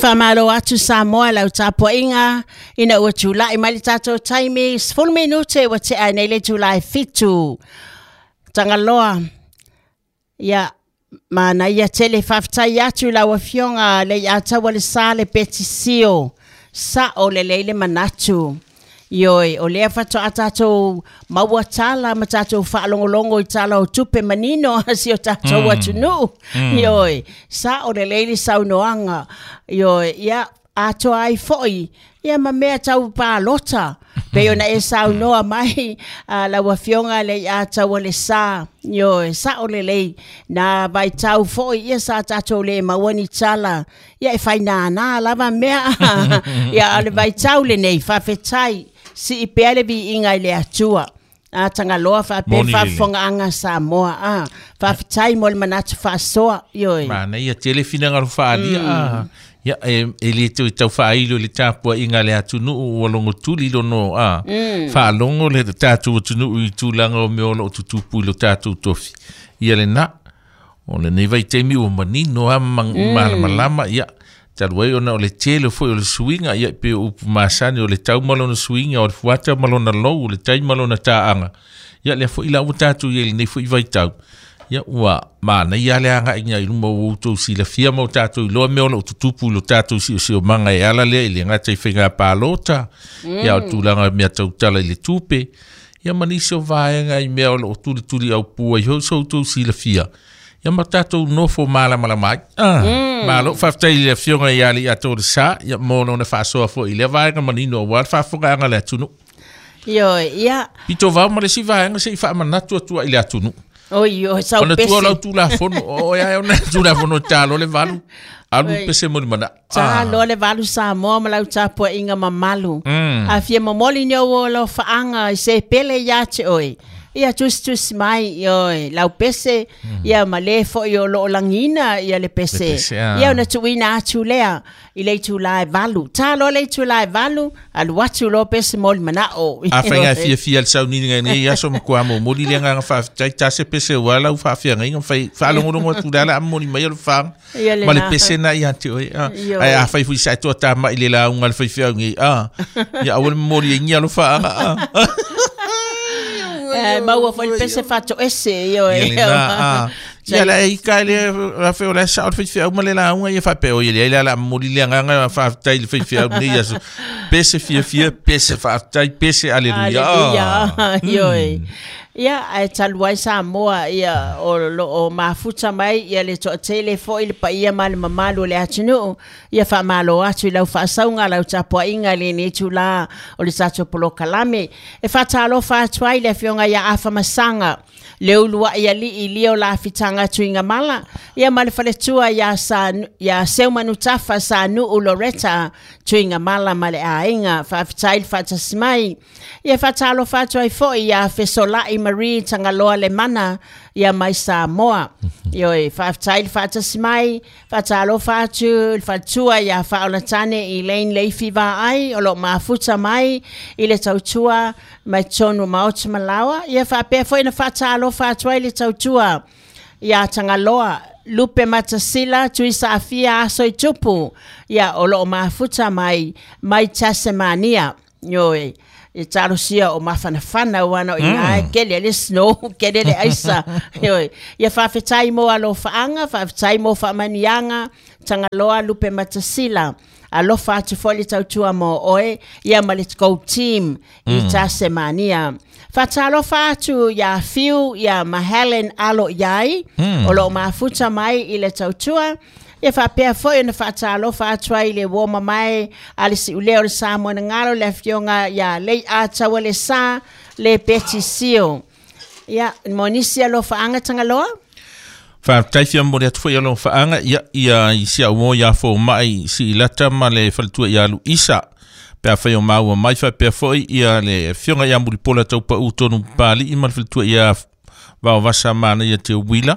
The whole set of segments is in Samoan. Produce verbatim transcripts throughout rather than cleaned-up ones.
Faamalo atu Samoa lau tapuaiga ina ua tula'i mai le tatou taimi sefulu minute ua tea ai nei le itulā e fitu. Tagaloa, ia manaia tele faafetai atu i lau afioga le Iataua le Sa le Petisio sa'o lelei le manatu. Ioe, o lea faatoa tatou maua tala ma tatou faalogologo i tala o tupe manino a si o tatou mm. atunuu. Mm. Ioe, sa'o lelei le saunoaga. Ioe, ia atoa ai fo'i ia ma mea tau palota pei ona e saunoa mai a lau afioga le Iataua le Sa. Ioe, sa'o lelei na vaitau fo'i ia sa tatou lē maua ni tala ia e fainānā lava mea ia a le vaitau lenei faafetai sii pea le viiga i le Atua a Tagaloa faapea Moni lelei. Faafofogaaga Samoa a faafetai mo le manatu faasoa. Ioe. Manaia tele finagalo faaalia a ia e, e le toe tau faailo i le tapuaiga a le atunuu ua logotuli lono a faalogo le tatou atunuu i tulaga o mea o loo tutupu i lo tatou tofi ia lena o lenei vaitaimi ua manino a ma malamalama ia talu ai ona o le tele foi o le suiga ia pe o upu masani o le tau ma lona suiga o le fuata ma lona lou o le tai ma lona taaga ia lea foi la ua tatou i ai lenei foi vaitau ia ua manaia le agaiga i luma ua outou silafia ma o tatou iloa mea o loo tutupu i lo tatou siosiomaga e ala lea i le gata i faiga palota ia o tulaga mea tautala i le tupe ia ma nisi o vaega i mea o loo tulituli aupua ai foi so outou silafia ia ma tatou nofo malamalama ai ah, malo faafetai i le afioga ia Alii Atoa le Sa ia mo lona faasoa foi i lea vaega manino aua le faafofogaaga le atunuu. Ioe, ia. Pito vao ma le isi vaega se i faamanatu atua i le atunuu. Oi, oi, sau ona pese. Tua lau tulafono o ia ona tulafono talo le valu alu Oi. Pese mo le mana. Talo le valu Samoa ma lau tapuaiga mamalu. Mm. A fia momoli ni ou alofaaga i se pele ia te oe. Ia tusitusi mai ioe, lau pese, ia ma le fo'i o loo lagina ia le pese. Le pese, ah. Ia ona tuuina atu lea i le itulā e valu. Talo le itulā e valu, alu atu lo pese mo le manao. A faiga fiafia le sauniga i nei aso ma kua momoli le agaga faafetai tase pese ua lau faafiagaiga ma fai faalogologo atu le ala a momoli mai o le faga Ia ma le lena. Pese na ia te oe ah. Ioe. Ae a fai fui sa toa tama'i le lauga le faifeau nei ah. Ia aua le momoli ai alofa faaga ah. Eh, maua foi le pese faatoese ioe. Ia lena ah. Ia la e ika le rafe o le sa o le faifeau ma le lauga ia faapea o ia le ai le ala a momoli le agaga faafetai i le faifeau nei aso pese fiafia pese faafetai pese aleluia. Aleluia. Ah. Ioe. Ia, ae talu ai Samoa, ia, o loo mafuta mai, ia le toatele foi le paia ma le mamalu o le atunuu. Ia faamalo atu i lau faasauga lau tapuaiga i lenei itulā o le tatou polokalame. E faatalofa atu ai le afioga ia Afamasaga, le uluai alii lia o lafitaga Tuigamala, ia ma le faletua ia, sa, ia Seumanutafa Sanuu Loretta Tuigamala ma le aiga. Faafetai le faatasi mai. Ia faatalofa atu ai foi ia Fesola'i Marie Tagaloa Lemana ia mai Samoa. Ioe, faafetai le faatasi mai. Faatalofa atu le faletua ia Faaolatane Elaine Leifi Vaai o loo mafuta mai i le tautua mai tonu maota malawa. Ia faapea foi na faatalofa atu ai le tautua ia Tagaloa Lupe Matasila Tuisaafia Aso i Tupu ia o loo mafuta mai mai Tasmania. Ioe, e talosia o mafanafana ua o ina e kele le snow kele le aisa. Ioe, ia faafetai mo alofaaga faafetai mo faamaniaga Tagaloa Lupe Matasila alofa atu foi le tautua mo oe ia ma le go team i Tasmania. Faatalofa atu ia Fiu ia ma Helen Alo Iai o loo mafuta mai i le tautua. Ia faapea foi ona faatalofa atu ai le uo mamae a le siulea o le Samoa na galo le afioga ia Lei Ataua le Sa le Beti Sio. Ia mo nisi alofaaga Tagaloa. Faafetai fia momoli atu foi alofaaga ia ia i si au mo ia foma'i siilata ma le faletua ia Luisa pe afai o maua mai faapea foi ia le afioga ia Mulipola Taupaʻu tonu Papali'i ma le faletua ia Vaovasa mana ia te uila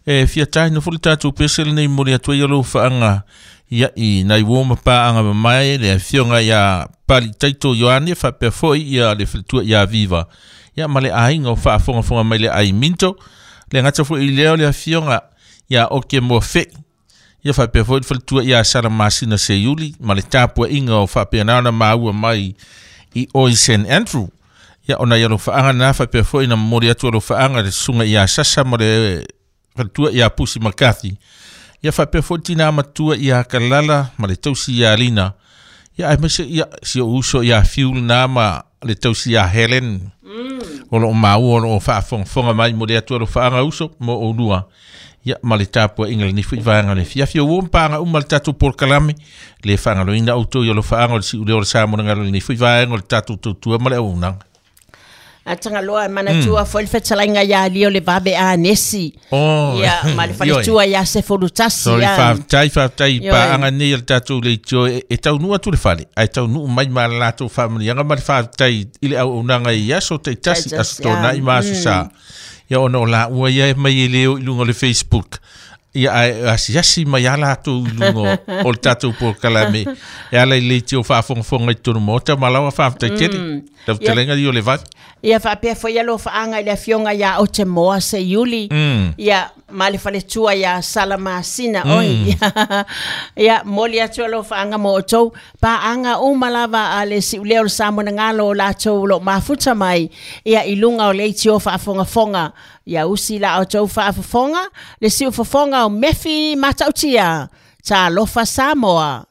e fia taina foi le tatou pese lenei momoli atu ai alofaaga ia i nai uo ma paaga mamae le afioga ia Pali Taito Ioane faapea foi ia le faletua ia Viva ia ma le aiga o faafogafoga mai le ai Minto le gata foi i lea o le afioga ia Oke Moafe Ia faapea foi le faletua ia Sala Masina Seiuli ma le tapuaiga o faapena ona maua mai i o i Saint Andrew. Ia ona ia alofaaga na faapea foi na momoli atu alofaaga le susuga ia Sasa ma le faletua ia Pusi McCarthy. Ia faapea foi tina matua ia Kalala ma le tausi ia Lina. Ia aemaise ia si ou uso ia Fiu na ma le tausi ia Helen. Mm. O loo maua o loo faafogafoga mai mo le atu alofaaga uso mo oulua. Ia ma le tapuaiga lenei foi vaega le fiafia ua paga uma le tatou polokalame le faagaloina outou i alofaaga o le siuleo o le Samoa na galo lenei foi vaega o le tatou tautua ma le auaunaga. Atagaloa e manatua foi le fetalaiga ia Lio le vave a Nesi. Oh, Ia, ma le faletua ia Sefolutasi. Sorry, ia. faafetai, faafetai Ioe. Paaga nei a le tatou leitio e, e taunuu atu le fale, ae taunuu mai ma le latou faamanuiaga ma le faafetai i le auaunaga i aso taitasi, Taitasi, aso tonai ia. ma aso sa. Ia ona o laua ia e mai e leo i luga o le Facebook. Ia ae asiasi mai a latou i luga o le tatou polokalame. E ala i leitio faafogafoga i totonu maota ma laua faafetai tele. Tautelega i o le vave. Ia faapea foi alofaaga i le afioga ia Otemoa Seiuli. Mm. Ia ma le faletua ia Salamasina oi. Ia moli atu alofaaga mo outou. Paaga uma lava a le siuleo o le Samoa na galo o latou o loo mafuta mai. Ia i luga o leitio faafogafoga. Ia usi la outou faafofoga le siufofoga o Mefi Matautia. Talofa Samoa.